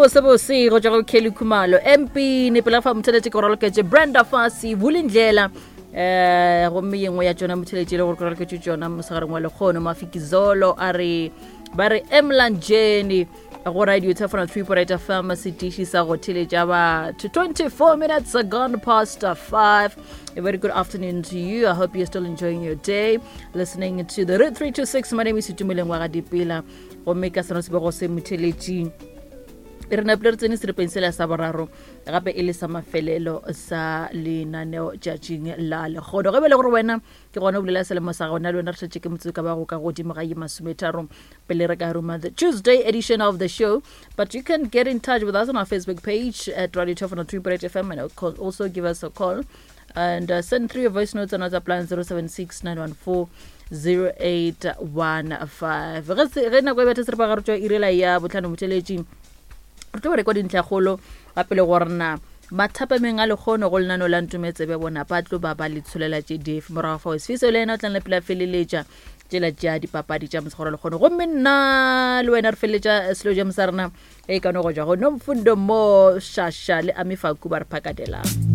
bose bose go tšwa go Kelly Khumalo, MP Nepela fa motheletše ke go raloketše Brenda Fassie, Vulindlela eh gomme ye nngwe ya tšona motheletše e le gore ke raloketše tšona mosegareng wa lekgono. Mafikizolo a re ba re Emlanjeni go radio Tefona 3.8 FM, setiši sa go theletša batho. 24 minutes gone past 5. A very good afternoon to you. I hope you're still enjoying your day listening to the Route 326. My name is Itumeleng wa ga Dipela, gomme ka seno sebego se motheletši re napile re tsene seripeng sela sa boraro, gape e le sa mafelelo sa lenaneo tšatšing la lekgono. Ge bele gore wena ke gona o bolela selemo sa gona le wena, re šetše ke motse ka bago ka godimo ga ye masometharo pele re ka ruma the Tuesday edition of the show. But you can get in touch with us on our Facebook page at Radio 2.8 FM and also give us a call and send through your voice notes on WhatsApp line 076 914 0815. Ge nako e betha seripagare tšwa irela ya botlhano, motheletši re tlo rekwa dintlhakgolo gape le gorena mathapameng a lekgono go lenano la Ntometsebe bona ba tlo ba ba le tsholela tše dife. Morago fao Sefiso le yena o tlang lepela feleletša tšela tša dipapadi tša mosegoro lekgono, gomme nna le wena re feleletša selo ja sa rena e ka no go tšwa go Nomfundo mo Shasha le Amifaku ba re phakadelang.